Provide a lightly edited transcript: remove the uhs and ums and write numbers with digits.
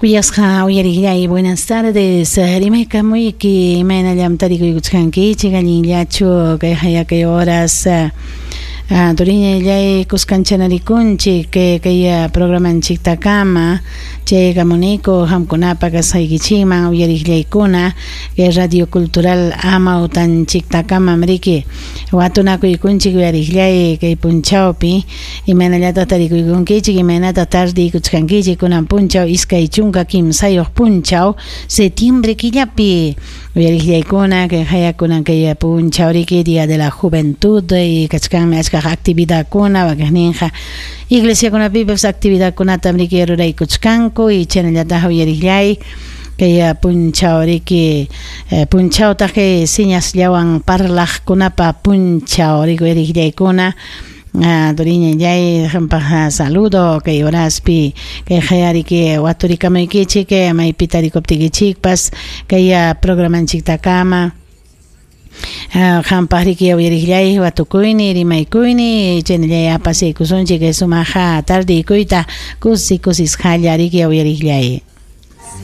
Kuyasqa uyariqllay, buenas tardes. Rimaykamuyki, imaynallam tarikuykuchkankichik, allinllachu kay hayakay horas turiñallay kuskanchanarikunchik kay programanchiktakama chaykamuniku qamkunapa kasqaykichikman uyariqllaykuna kay Radio Cultural amawtanchiktakamam riki watunakuykunchik uyariqllay kay punchawpi imaynallataq tarikuykunkichik imaynataq tardiykuchkankichik kunan punchaw 23 punchaw septiembre killapi uyariqllaykuna kay hayakunan kay punchaw riki Día de la Juventud y kachkanmi achkaq actividadkuna wakiqninqa iglesiakunapipas actividadkunatam riki ruraykuchkanku y chaynallataq uyariqllay kay punchaw riki punchawtaq kay señasllawan parlaqkunapa punchaw riki uyariqllaykuna turiñallay qampaq saludo kay horaspi kay hayariki waturikamaykichik maypi tarikuptikichikpas kay programanchiktakama qampaq riki uyariqllay watukuyni rimaykuyni chaynallay apasiykusunchik sumaqa tardiykuyta kusi kusisqalla riki uyariqllay.